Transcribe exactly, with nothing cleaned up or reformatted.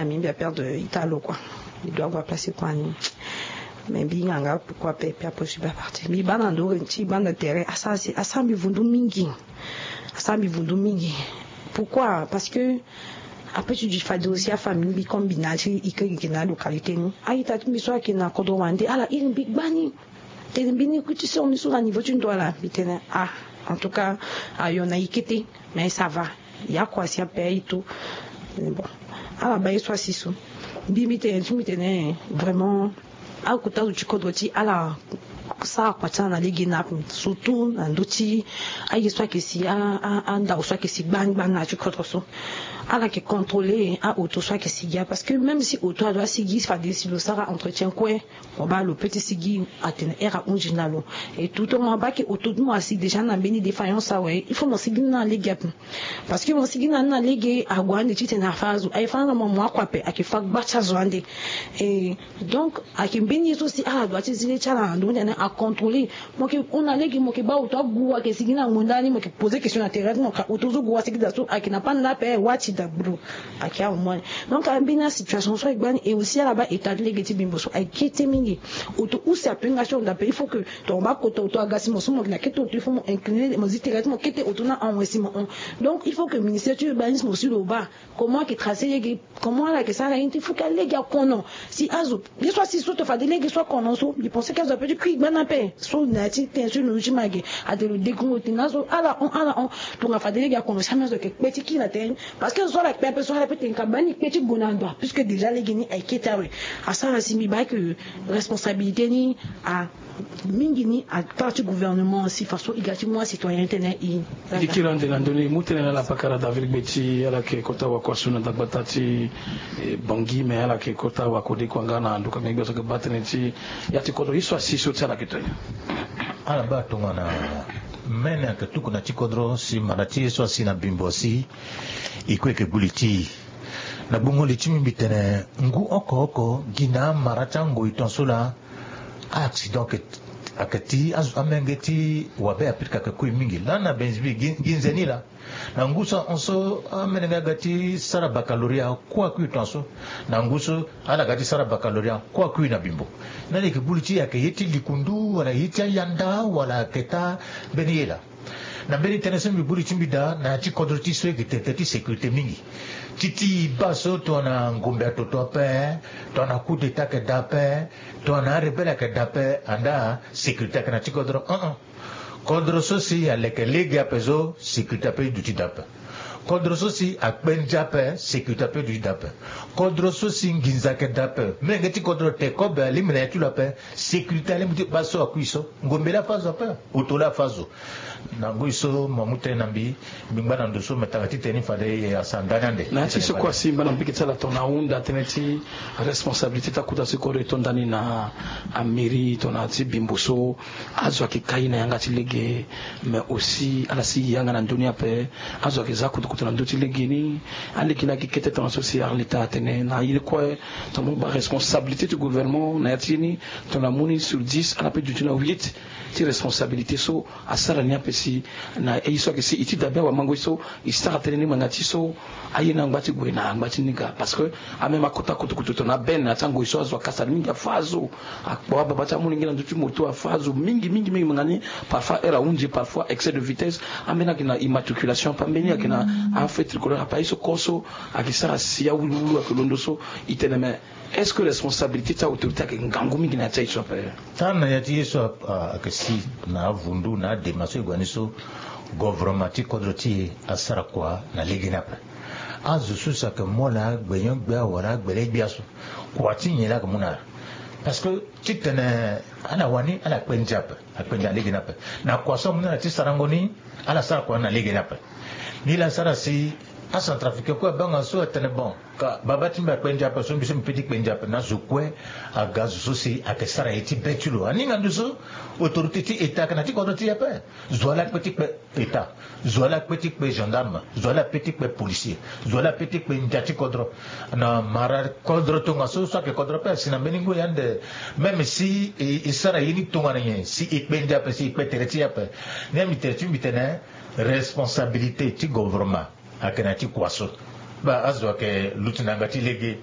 Ami mbi aperdre ita lo kua. Mbi doit avoir place kua ni. Mais mbi hinga nga pourquoi pe pe aposi ba parti mbi baa na ndo ti banda tere asara si asara mbi vundu mingi. Asara mbi vundu mingi. Pourquoi? Parce que après ti du fade aussi afamille mbi comme mbi na ti ike gigi na localité ni, aita ti mbi so ayeke na kodro wande ala iri mbi gbani. Tene mbi ni kuti so ni so na niveau ti ndo ala mbi tene ah. En tout cas ayo na ike te. Mais ça va. Ya kua si ape aye to. Bon, ala baa ye so asi so. Mbi mbi tene ti mbi tene vraiment akota zo ti kodro ti ala sara kua ti ala na lege ni ape. Surtout na ndö ti aye so ayeke si andao so ayeke si gbani gbani na ya ti kodro so. Ala yeke contrôler aoto so ayeke si gi ape parce que même si oto ado asigi fade si lo sara entretien kue. Mo baa lo pe ti sigi atene here ahunzi na lo. Et tout temps mo baa ke oto ti mo asi déjà na mbeni défaillance awe il faut mo sigi ni na lege ape. Parce que mo sigi na ni na lege ague ande titene afa azo aye fa na mo mo akua ape ayeke fa gba ti azo ande. Et donc ayeke mbeni ye so si ala doit ti zi le ti ala na ndo ni tene acontrôler. Mo yeke hon na lege mo yeke baa oto agu ayeke sigi na ngbonda ni mo yeke poser question na terrain ti mo ka oto so gu asigi daa so ayeke na panda ape wati daa bro. Ayeke awe mo ande. Donc ambeni asituation so aye gbani et aussi ala baa état ti lege ti bimbo so aye kete mingi. Oto use ape nga ti honda ape il faut que ton baa kota oto aga si mo so mo yeke na kete oto il faut mo incliner mo zi tere ti mo kete oto na ahon si mo hon. Donc il faut que ministère ti urbanisme aussi lo baa comment ayeke tracer lege comment ala yeke sara ye ni ti il faut que alege akono. Si azo ye so asi so to fade lege so akono so mbi pense ke azo ape ti kui gbani ape so na ya ti ten so e londo ti ma ge. Ate lo degrungo tena so ala hon ala hon. Tonga fade lege akono si ame azo ayeke kpe ti kiri na tere ni. Parce que zo so ala kpe ape so ala pe tene ka baa ni kpe ti gue na ndo puisque déjà lege ni aye kete awe. Asara si mbi baa ke responsabilité ni a mingi ni a part ti gouvernement si façon e ga ti mu acitoyen tene e. E kiri ande na ndö ni e mu tënë na ala pakara David Gbeti ala yeke kota wakua so na dagbata ti Bangui mais ala yeke kota wakode kua nga na nduka gbengbe so ayeke baa tënë ti ya ti kodro ye so asi so ti ala yeke to nyen? Ala baa tongana mene ayeke tuku na ti kodro si mara ti ye so asi na bimbo asi. E kue yeke gbu li ti e. Na gbongo li ti mbi mbi tene ngu oko oko gi na amara ti angoi tongaso laa a-accident ayeke ti amenge ti wabe apirika ayeke kue mingi laa na benzibi gi nze ni laa. Na ngu so ahon so amene nga aga ti sara bakaloria kue akui tongaso. Na ngu so ala ga ti sara bakaloria kue akui na bimbo. Nani yeke gbu li ti e ayeke ye ti likundu wala ye ti ayanda wala ayeke taa mbeni ye laa. Na mbeni tënë so mbi gbu li ti mbi daa na ya ti kodro ti so e yeke tene tënë ti sécurité mingi. Ti ti e baa so tongana ngombe atoto ape tongana coup d'état ayeke daa ape tongana arebelle ayeke daa ape andaa sécurité ayeke na ti kodro. Kodro so si aleke lege ape so sécurité ape e duti daa ape. Kodro so si akpe ndia ape sécurité ape e duti daa ape. Kodro so si nginza ayeke daa ape menge ti kodro te kobe alingbi na ya ti lo ape. Sécurité alingbi ti baa so akui so ngombe laa afa zo ape. Oto laa afa zo. Na ngoi so mo mu tënë na mbi mbi ngba na ndo so me tanga titene ni fade e asa ndani ande. Na ya ti so kue asi mba na mbeke ti ala tongana ahunda tënë ti responsabilité ti akota so e kodro e to ndani na amairie tongana ti bimbo so. Azo ayeke kai na yanga ti lege. Mais aussi ala si yanga na ndö ni ape. Azo ayeke za kutukutu na ndö ti lege ni. Alege ni ayeke kete tongaso si arlita atene na ye ni kue. Tongana mo baa responsabilité ti gouvernement na ya ti ye ni tongana mu ni sur dix ala pe duti na huit ti responsabilité so. Asara ni ape si na ye so ayeke si e ti dabe awamango ye so e sara tënë ni ma na ti so. Aye ni angba ti gue na angba ti ni ga parce que ameme akota kutukutu tongana abene na ya ti angoi so azo akasa mingi afa azo. Akpo ababa ti amolenge na ndö ti moto afa azo mingi mingi mingi ma na ni. Parfois heure ahunzi parfois excès de vitesse. Ambeni ayeke na immatriculation ape ambeni ayeke na afeu tricolore ape aye so koko so ayeke sara si awuluwulu ayeke londo so. E tene me est-ce que responsabilité ti autorité ayeke ngangu mingi na ya ti aye so ape? Tara na ya ti ye so ayeke si na avundu na adema so e gue ni so. Govoroma ti kodro ti e asara kua na lege ni ape. Azo so si ayeke mu ala agbenyo-gbia wala agbele-gbia so kua ti nyen laa ayeke mu na ala? Parce que titene ala wani ala kpe ndia ape. Akpe ndia na lege ni ape. Na kua so amu na ala ti sarango ni ala sara kua na lege ni ape. Nilaa asara si acentrafricain kue abanga so atene bon ka baba ti mbi akpe ndia ape so mbi so mbi pe ti kpe ndia ape na zo kue. Aga zo so si ayeke sara ye ti be ti lo aninga ndo so autorité ti état ayeke na ti kodro ti e ape. Zo wa laa akpe ti kpe état. Zo wa laa akpe ti kpe gendarme. Zo wa laa akpe ti kpe policier. Zo wa laa akpe ti kpe ndia ti kodro. Na mara kodro tongaso so ayeke kodro ape asi na mbeni ngoi ande. Même si e sara ye ni tongana nyen si e kpe ndia ape si e kpe tere ti e ape. Ni ya mbi tere ti mbi tene responsabilité ti govoroma ayeke na ya ti kua so. Baa azo ayeke luti na yanga ti lege.